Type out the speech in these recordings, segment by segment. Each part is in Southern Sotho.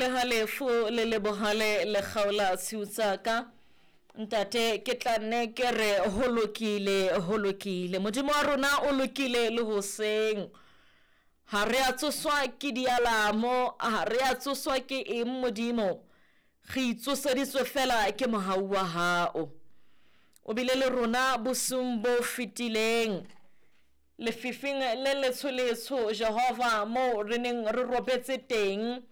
Pele ha lefu le le bohale le kgaola tshiu tsa ka, Ntate, ke tla nne ke re ho lokile, ho lokile. Modimo wa rona o lokile le hoseng. Ha re a tsoswa ke dialamo, ha re a tsoswa ke eng Modimo. Re itsoseditswe fela ke mohau wa hao. O bile le rona bosiung bo fetileng. Lefifing le letsho-letsho, Jehova, moo re neng re robetse teng,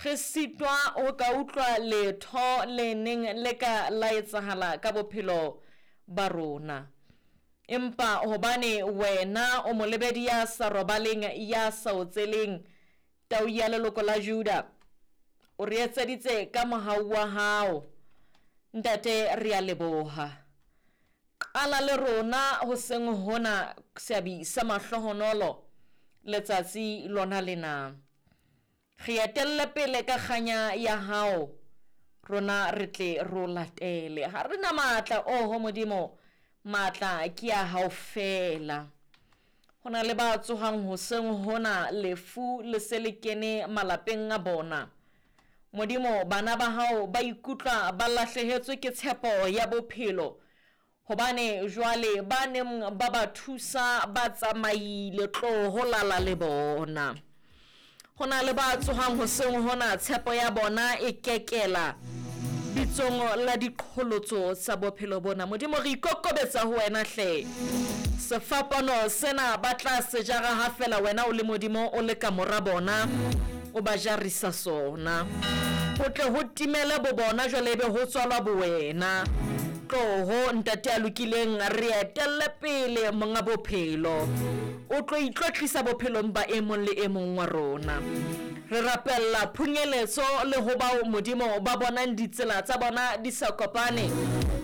re sitwa ho ka utlwa letho le neng le ka la etsahala ka bophelo ba rona. Empa hobane wena o molebedi ya sa robaleng, ya sa otseleng, tau ya leloko la Juda, o re etseditse ka mohau wa hao. Ntate, re a leboha. Qala le rona hoseng hona seabi sa mahlohonolo letsatsi lona lena. Re etelle pele ka kganya ya hao, rona re tle re o latele. Ha re na matla, oho Modimo, matla ke a hao feela. Ho na le ba tsohang hoseng hona lefu le se le kene malapeng a bona. Modimo, bana ba hao ba ikutlwa ba lahlehetswe ke tshepo ya bophelo, hobane jwale ba neng ba ba thusa ba tsamaile, tloho lala le bona. Ho na le ba tsohang hoseng hona tshepo ya bona e kekela bitsong la diqholotso tsa bophelo bona. Modimo, re ikokobetsa ho wena hle. Sefapano sena ba tla se jara ha fela wena o le Modimo o le ka mora bona, o ba jarisa sona. Ho tle ho timele bo bona jwale ebe ho tswalwa bo wena. Tloho ntate ya lokileng, re etelle pele monga bophelo. O tlo itlotlisa bophelong ba e mong le e mong wa rona. Re rapella phunyeletso le ho bao Modimo ba bonang ditsela tsa bona di sa kopane.